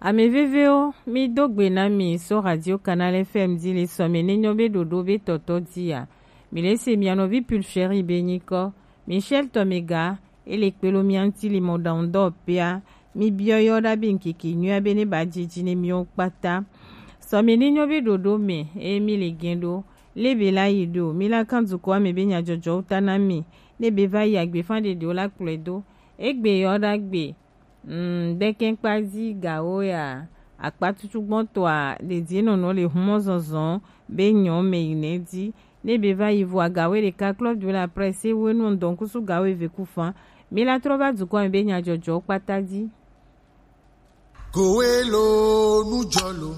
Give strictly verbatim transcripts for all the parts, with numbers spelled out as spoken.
Amɛ vevewo, mi do gbe na mi so Radio Canal F M di le sɔmɛ ne nyɔ be ɖoɖo be tɔtɔ di a. Mi le se mia nɔvi Pulcheri be nyikɔ, Michel Tomega, e le kpelo mia ŋti le mɔɖaŋudɔwɔƒea. Mi biɔ yɔ ɖa be ŋkeke nyuia be ne ba jiji ne miwo kpata. Sɔmɛ ne nyɔ be ɖoɖo mɛ, e mi le gɛn ɖo, le be la yi ɖo, mi la kan dukɔa mɛ be nyajɔjɔwo ta na mi, ne be va yi agbefa ɖeɖewo la kplɔe do. Egbe yɔ ɖa gbe, Mm, ɖekɛnkpazi gawo ya, akpatutu gbɔntɔa ɖe die nɔnɔ le humɔ zɔzɔ be nyɔ mɛ yi nɛ di. Ne be va yi vo agawo ɖeka klɔ du la presse wo nu dɔn kusu gawo eve ku fan. Mi la trɔ va dukɔ be nyajɔjɔ kpata di. Kowe lo nu jɔ lo.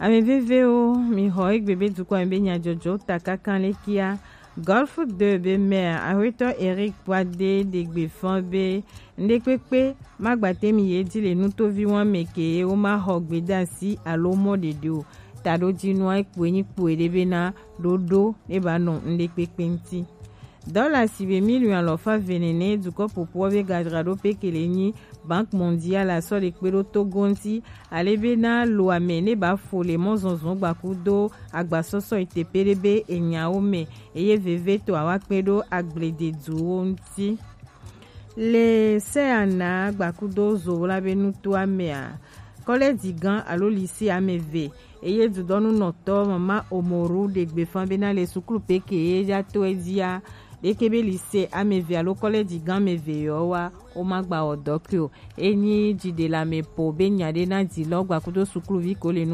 Ame vevewo, mi xɔ egbe be dukɔ be nyajɔjɔ ta kaka le kia. Golf deux be maire, Ahuetɔ Eric Poade, de gbe fɔn be ŋɖekpekpe ma gbate mi ye di le nutovi wan me ke ye wo ma xɔ gbedasi alo mɔ ɖeɖe o. Taɖo jinua ekpoe nyi kpoe ɖe be na ɖoɖo ne ba nɔ ŋɖekpekpe ŋti. Dɔla si be miliɔn alɔfa eve nene dukɔ popoɔ be gadzraɖo pekele nyi Banque Mondiale asɔ le kpe ɖo Togo ŋti, ale be na lo ame ne ba fo le mɔzɔzɔ gbakudo agbasɔsɔ itepe ɖe be enyawo me, eye veve to awa kpe ɖo agblededuwo ŋti. Le Seana gbakudo Zola be nutoa mea, kɔlɛji gã alo lise ame eve, eye dudɔnunɔtɔ mama Omoru ɖe gbefa bena le suklu peke ye ya to edzia, ɖeke be lise ame eve alo kɔlɛji gã ame eve yɔ wa, wo ma gba wɔ dɔ ke o. Enyi dziɖelame po be nya ɖe na dzi lɔ gbakudo sukluvi ko le nu